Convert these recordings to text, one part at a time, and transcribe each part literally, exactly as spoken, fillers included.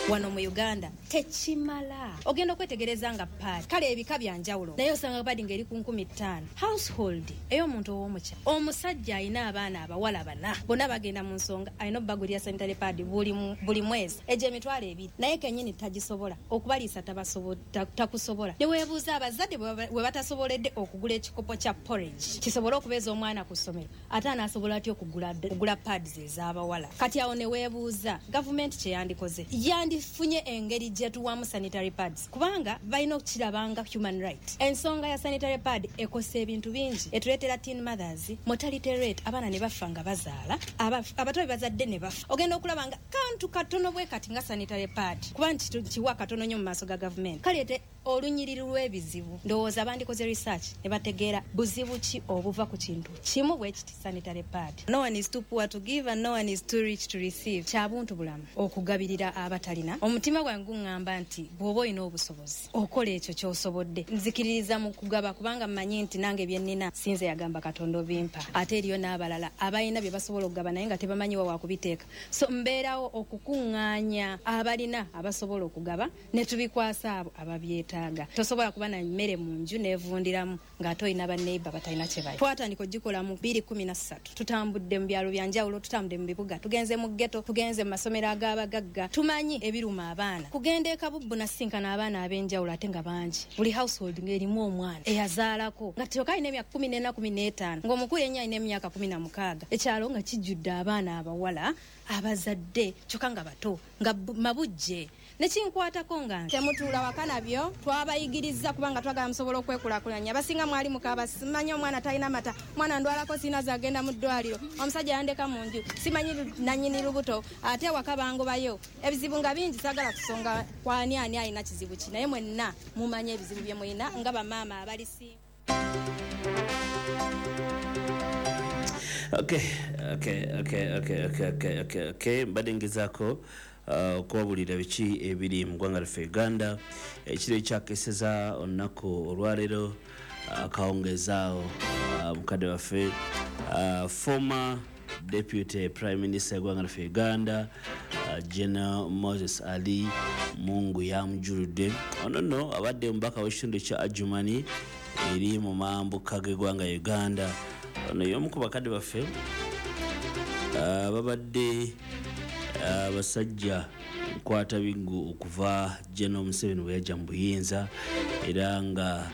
Wano mu Uganda tekimala. Ogenda okwetegereza nga pad kale ebika bya njawulo, naye osanga pad ng'eri ku nkumi ttaano. Household ey'omuntu ow'omukyalo, omusajja alina abaana abawala bana, bonna bagenda mu nsonga, alina obbagulira sanitary pad buli, buli mwezi egyo emitwalo ebiri, naye kennyini tagisobola okubaliisa, takusobola. Ne weebuuza abazadde bwe batasoboledde okugula ekikopo kya porridge kisobole okubeeza omwana ku ssomero, ate anaasobola atya okugula, okugula pads ez'abawala? Kati awo ne weebuuza gavumenti kye yandikoze, yandifunye engeri gye tuwamu sanitary pads, kubanga balina okukirabanga human right. Ensonga ya sanitary pad ekosa ebintu bingi, etuleetera teen mothers, mortality rate, abaana ne bafa nga bazaala, abato be bazadde ne bafa. Ogenda okulaba nga kantu katono bwe kati nga sanitary pad, kuba nti kiwa katono nnyo mu maaso ga gavumenti, kaleete olunyiriri lw'ebizibu. Ndowooza bandikoze research ne bategeera buzibu ki obuva ku kintu kimu bwe kiti sanitary pad. No one is too poor to give and no one is too rich to receive. Kya buntu bulamu okugabirira abatalina. Omutima gwange guŋŋamba nti bw'oba olina obusobozi okola ekyo ky'osobodde. Nzikiririza mu kugaba kubanga mmanyi nti nange bye nnina sinze yagamba Katonda obimpa, ate eriyo n'abalala abalina bye basobola okugaba naye nga tebamanyi wa wakubiteeka. So mbeerawo okukuŋŋaanya abalina abasobola okugaba ne tubikwasa abo ababyetaaga. Tosobola kuba na mmere mu nju n'evundiramu ng'ate olina banneighbor batalina kye balya. Twatandika ogikola mu bbiri kumi na ssatu, tutambudde mu byalo bya njawulo, tutambudde mu bibuga, tugenze mu ghetto, tugenze mu masomero ag'abagagga, tumanyi ebiruma abaana. Kugenda e Kabubbu nasinkana abaana ab'enjawulo ate nga bangi, buli household ng'erimu omwana eyazaalako nga kyokka alina emyaka kumi n'ena kumi n'etaano, ng'omukulu yennyini alina emyaka kumi na mukaaga. Ekyalo nga kijjudde abaana abawala abazadde kyokka nga bato nga mabujje. Nekinkwatako nga temutuula waka nabyo twabayigiriza kubanga twagala musobola okwekulaakulanya. Abasinga mwali mukaaba, simanyi omwana talina mata, mwana ndwalako sirina zagenda mu ddwaliro, omusajja yandeka mu nju, simanyi nannyini lubuto, ate waka bangobayo. Ebizibu nga bingi, saagala kusonga kwani ani alina kizibu ki, naye mwenna mumanyi ebizibu bye mulina nga bamaama abali si. Okay, okay, okay, okay, okay, okay, okay, okay. Mbadde ngezaako okubabulira biki ebiri mu ggwanga lyaffe Uganda. Ekiro ekyakeseza olunaku olwaleero akawungezaawo mukadde waffe former deputy prime minister eggwanga lyaffe Uganda General Moses Ali Mungu yamujuludde. Ono nno abadde omubaka w'ekitundu ekya Adjumani eri mu mambuka g'eggwanga Uganda. Ono y'omu ku bakadde baffe babadde abasajja nkwata bingu okuva General Museveni bwe yajja mu buyinza, era nga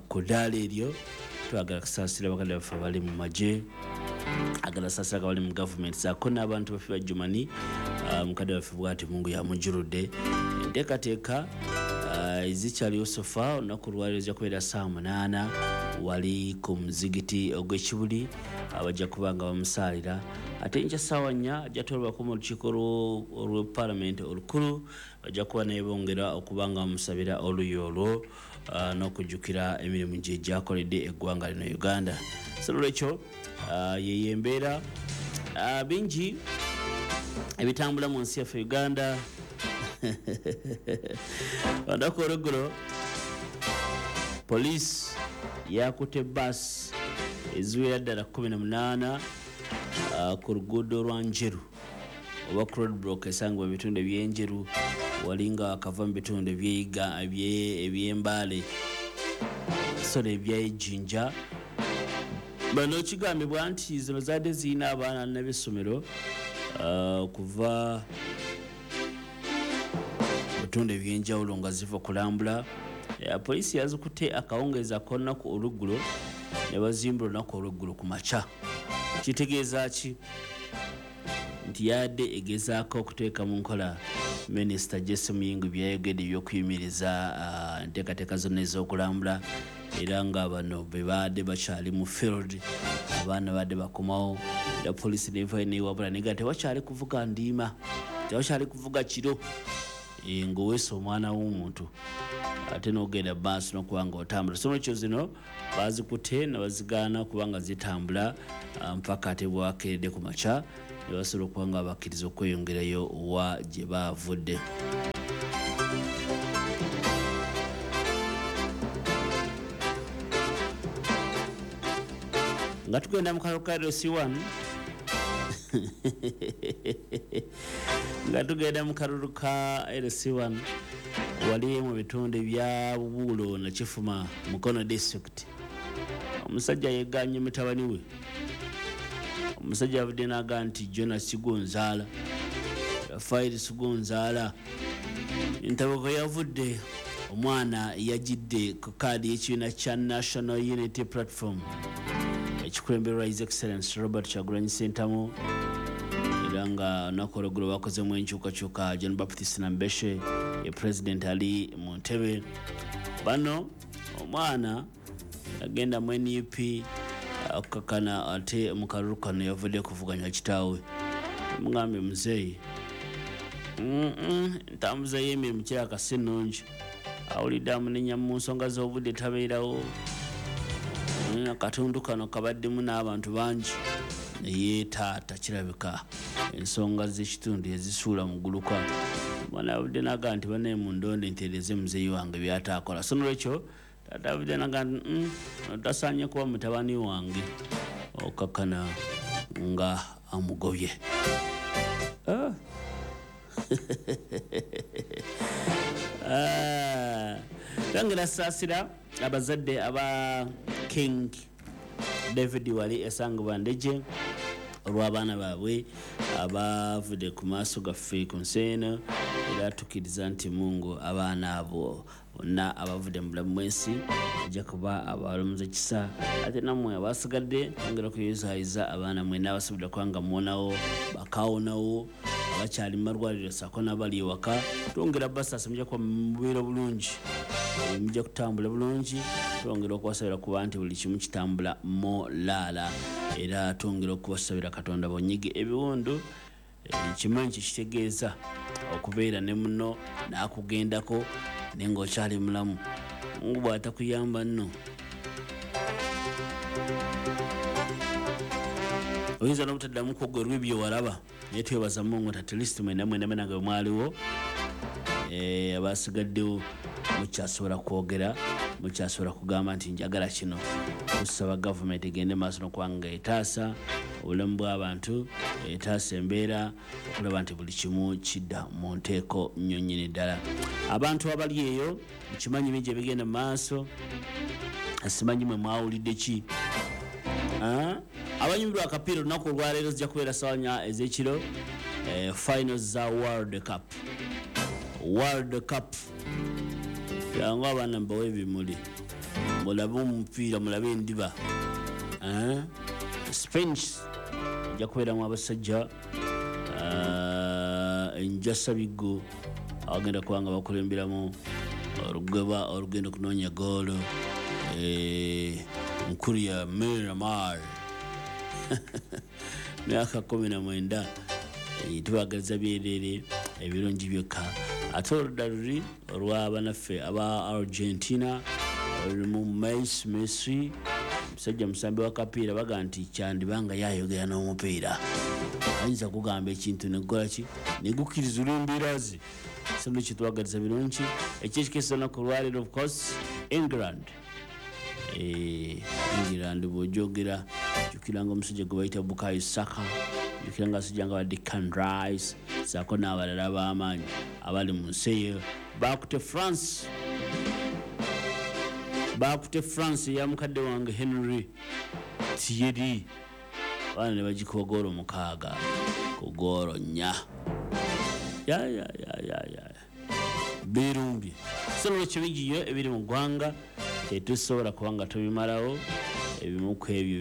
ku ddaala eryo twagala kusaasira bakadde baffe abali mu magye, agala saasira abali mu gavumenti saako n'abantu baffe ba Adjumani. Mukadde waffe bw'ati Mungu yamujuludde. Enteekateeka ezikyaliwo sofa olunaku olwaleero zijja kubeera ssaawa munaana wali ku muzigiti ogw'Ekibuli, abajja kuba nga bamusaalira. Ate enkya ssaawa nnya ajja twalibwako mu lukiiko olw'epaalamenti olukulu, bajja kuba naye bongera okuba nga bamusabira oluyi olwo n'okujjukira emirimu gye gyakoledde eggwanga lino Uganda. So nolwekyo yeyo embeera bingi ebitambula mu nsi yaffe Uganda. Olunaku olweggulo poliisi yakutte baasi eziwera ddala kkumi na munaana ku luguudo lwa Njeru oba ku roadblock esangibwa mu bitundu eby'Enjeru, wali nga akava mu bitundu ebyeyiga eby'Embaale sorry eby'Ejjinja. Bano kigambibwa nti zino zaadde zirina abaana n'ab'essomero okuva mu bitundu eby'enjawulo nga ziva kulambula. Poliisi yazikutte akawungeezi ak'olunaku olweggulo ne bazimbula olunaku olweggulo ku makya. Kitegeeza ki? Nti yadde egezaako okuteeka mu nkola Minisita Jesse Muyingo byayogedde eby'okuyimiriza enteekateeka zonna ez'okulambula, era nga bano be baadde bakyali mu field, abaana badde bakomawo, era poliisi nevayo newabula nega tewakyali kuvuga ndiima, tewakyali kuvuga kiro ng'oweesa omwana w'omuntu ate n'ogenda maaso n'okuba nga otambula. So nolwekyo zino baazikutte ne bazigaana okuba nga zitambula mpaka ate bwakeredde ku makya ne basobola okuba nga bakkiriza okweyongerayo wa gye baavudde. Nga tugenda mu kalulu ka L C one Nga tugenda mu kalulu ka L C one wali mu bitundu bya Bubuulo na Kifuma, Mukono district. Omusajja yeeganye mutabani we. Omusajja avudde n'agamba nti Jonas Sigonzaala, Rafael Sigonzaala. Entabako yavudde, omwana yagidde ku kaadi y'ekibiina kya National Unity Platform ekikulemberwa His Excellency Robert Kyagulanyi Ssentamu, era nga olunaku olweggulo bakozemu enkyukakyuka. John Baptist Nambeshe ye president ali mu ntebe. Bano omwana agenda mu N U P akakana, ate mu kalulu kano yavudde kuvuganya kitaawe. Mugambye muzeeyi, entambuza y'emirimu kirabika si nnungi, awulidde amunenya mu nsonga z'obudde tabeerawo. Akatundu kano kabaddemu n'abantu bangi, naye taata kirabika ensonga z'ekitundu yazisuula mu gguluka. Omwana avudde n'agamba nti bannaye mundonde ntereeze muzeeyi wange by'ataakola. So nolwekyo taata avudde n'agamba nti tasaanye kuba mutabani wange, okkakkana nga amugobye. Twongera saasira abazadde aba King David wali esangibwa Ndejje olw'abaana baabwe abavudde ku maaso gaffe ku nsi eno, era tukkiriza nti Mungu abaana abo bonna abavudde mu bulamu bw'ensi ajja kuba abalamuza kisa, ate nammwe abasigadde twongera okuyozaayoza abaana mwenna abasobodde okuba nga muwonawo, bakawonawo, abakyali mu malwaliro ssaako n'abali ewaka. Twongera basaasa mujja kuba mubeera bulungi, mujja kutambula bulungi. Twongera okubasabira kuba nti buli kimu kitambula molaala, era twongera okubasabira Katonda bonyige ebiwundu. Kimanyi kikitegeeza okubeera ne munno n'akugendako naye ng'okyali mulamu. Mungu bw'atakuyamba nno oyinza n'obutaddamu kwogerwa ebyo walaba, naye twebaza Mungu nti at least mwenna mwenna mwenna nga bwe mwaliwo, abasigaddewo mukyasobola kwogera, mukyasobola kugamba nti njagala kino. Tusaba gavumenti egende maaso n'okuba nga etaasa obulamu bw'abantu, etaasa embeera, okulaba nti buli kimu kidda mu nteeko nnyo nnyini ddala. Abantu abali eyo mukimanyi bingi ebigenda mu maaso, simanyi mwe mwawulidde ki. Abanyumirwa akapiira olunaku olwaleero zijja kubeera ssaawa nnya ez'ekiro, finals za World Cup. World Cup yangu abaana mbawe ebimuli, mulabe omupiira, mulabe endiba. Spain ejja kubeeramu abasajja enjasa biggo abagenda kuba nga bakulemberamu olugeba olugenda okunoonya goolo, nkulu ya Miramar myaka kumi na mwenda. Tubagaliza byereere ebirungi byokka. Ate oludda luli olw'abanaffe aba Argentina olulimu Messi, Messi musajja musambi wa kapiira, baga nti kyandibanga yayogera n'omupiira, ayinza kugamba ekintu negukola ki negukkiriza olw'embeera ze. So nolwekyo tubagaliza birungi. Ekyekikesa olunaku olwaleero of course England. England bw'ogyogera jjukira nga omusajja gwe bayita Bukayo Saka, jjukira nga abasajja nga ba Declan Rice ssaako n'abalala ab'amaanyi abali mu nsi eyo. Baakute France, baakute France eya mukadde wange Henry Thierry, abaana ne bagikuba goolo mukaaga ku goolo nnya. Ya ya ya ya ya birumbye. So nolwekyo bingi nnyo ebiri mu ggwanga tetusobola kuba nga tubimalawo, ebimu ku ebyo